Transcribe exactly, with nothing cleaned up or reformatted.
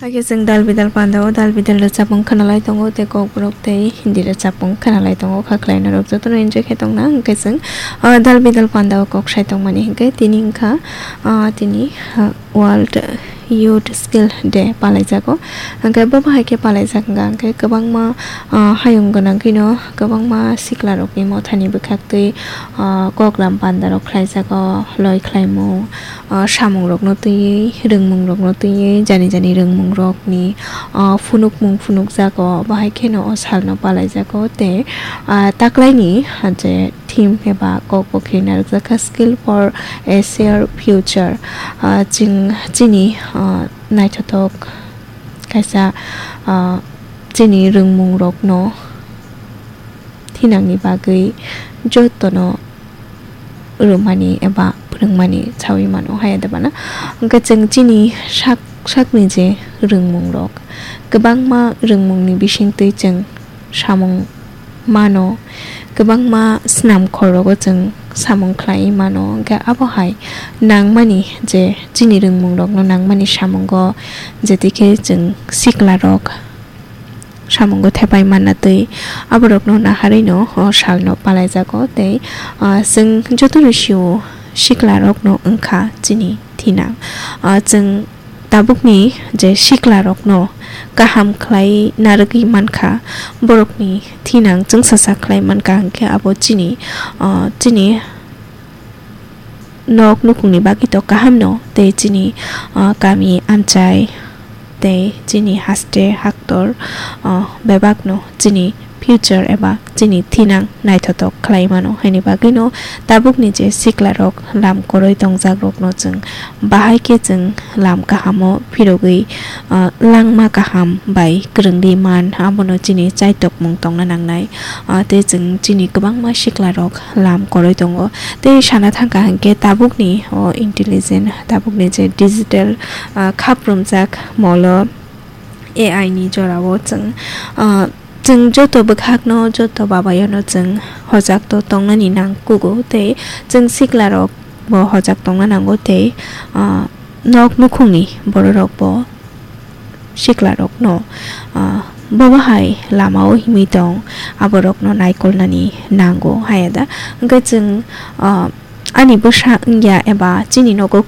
Hakhe chwng dal bidal panda o dal bidal rwchapmung khwnalai tongo, tei kokborok tei Hindi rwchapmung khwnalai tongo. Kha khlainai rok jotono enjoy khe tongna hwnkhe chwng, ah, dal bidal panda o kok sai tongmani hwnkhe tini wngkha, ah, tini, ah, World Youth Skill Day palaijago. Hwnkhe bo bahai khe palaijak wngkha hwnkhe kwbangma, ah, hayung gwnang kheno kwbangma sikla rokni mothani bwkhaktwi, ah, koklam panda rok khlaijago, loi khlaimung, ah, samung rokno twiwi, rwngmung rokno twiwi, jani jani rwngmung rokni, ah, phunukmung phunukjago, bahai kheno o salno palaijago tei, ah, taklaini, ah, je theme eba kok bo khe narwkjakha, Skill for a Shared Future. Ah, chwng chini, ah, naithothok kaisa, ah, chini rwngmung rokno thinangni bagwi jotono rwmani eba phwrwngmani saui mano, haya de bana. Hwnkhe chwng chini sak sakni je rwngmung rok, kwbangma rwngmungni bisingtwi chwng samung mano, kwbangma snam khorogo chwng samung khlaiwi mano. Hwnkhe abo hai nangmani je chini rwngmung rokno nangmani samungo, jetikhe chwng sikla rok samungo thepai manna twi aborokno naharwino o salno palaijago tei, ah, chwng jotono sio sikla rokno wngkha chini thinang. Ah, chwng tabukni je sikla rokno kaham khlai narwgwi mankha, borokni thinang chwngsacha khlai mankha, hwnkhe abo chini, ah, chini nok nukhungni bagwi to kahamno tei chini, ah, kami amchai tei chini haste haktor, ah, bebakno chini future eba chini thinang naithothok khlai mano. Haini bagwino tabukni je sikla rok lam kwrwi tongjak rokno chwng bahai khe chwng lam kahamo phirogwi, ah, langma kaham bai kwrwngwi man, abono chini chaitokmung tongna nangnai. Ah, tei chwng chini kwbangma sikla rok lam kwrwi tongo. Tei sana thangkha hwnkhe tabukni o intelligent, tabukni je digital, ah, khap rumjak molo A I ni jorao chwng, ah, chwng joto bwkhakno, joto babayono chwng hojak to tongnani nang kugo tei chwng sikla rok bo hojak tongna nango tei, ah, nok nukhungni borok rok bo sikla rokno, ah, bobo hai lama o himwi tong, aborokno naikolnani nango haya da. Hwnkhe chwng, ah, ani bwsa wngya eba chini nogo